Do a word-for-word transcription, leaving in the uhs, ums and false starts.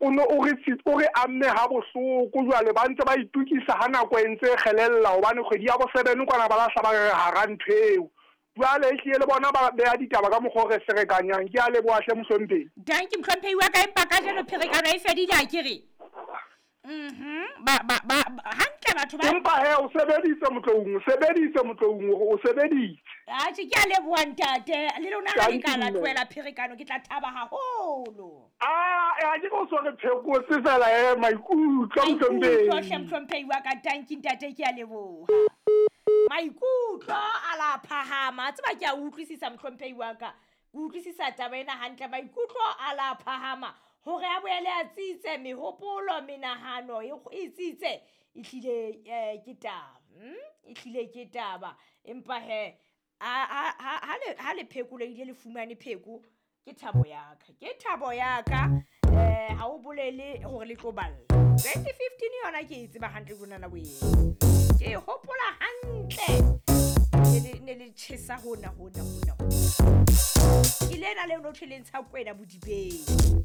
o no o re o re amme ha bohloko jwale ba ntse ba itukisa ha nako e ntse e kgelella hobane kgwedi ya bo seven kwana ba lahla ba re hara ntho eo. Jwale ehlile le bona ba beha ditaba ka mokgwa o re ferekanyang. Ke a leboha hle mohlomphehi. Dankie mohlomphehi wa ka, empa kajeno pherekano e fedile akere? Mhm. Ba ba ba hantle batho ba Empa he o sebeditse Motloung, o sebeditse Motloung hore o sebeditse. Atjhe, ke a leboha ntate. Le lona ha le ka la Dankie, mme. tlohela pherekano ke tla thaba haholo. Ah, ha ke o so re phekotse fela eh maikutlo Maikutlo mohlomphehi. hle mohlomphehi wa ka, dankie ntate, ke a leboha. Maikutlo a la phahama. A tseba ke a utlwisisa mohlomphehi wa ka. Ke utlwisisa taba ena hantle. Maikutlo a la phahama hore a boele a tsitse mehopolo, menahano e e tsitse ehlile eh ke taba. Mm? Ehlile ke taba. Empa he ha ha ha le ha le phekolehile le fumane pheko ke thabo ya ka. Ke thabo ya ka. Eh ha o bolele hore le tlo balla. twenty fifteen yona ke e tseba hantle jonana wee. Ke e hopola hantle. Ne le ne le tjhesa hona hona hona. Ke lena leo no thwe le ntsha kwena bodibeng.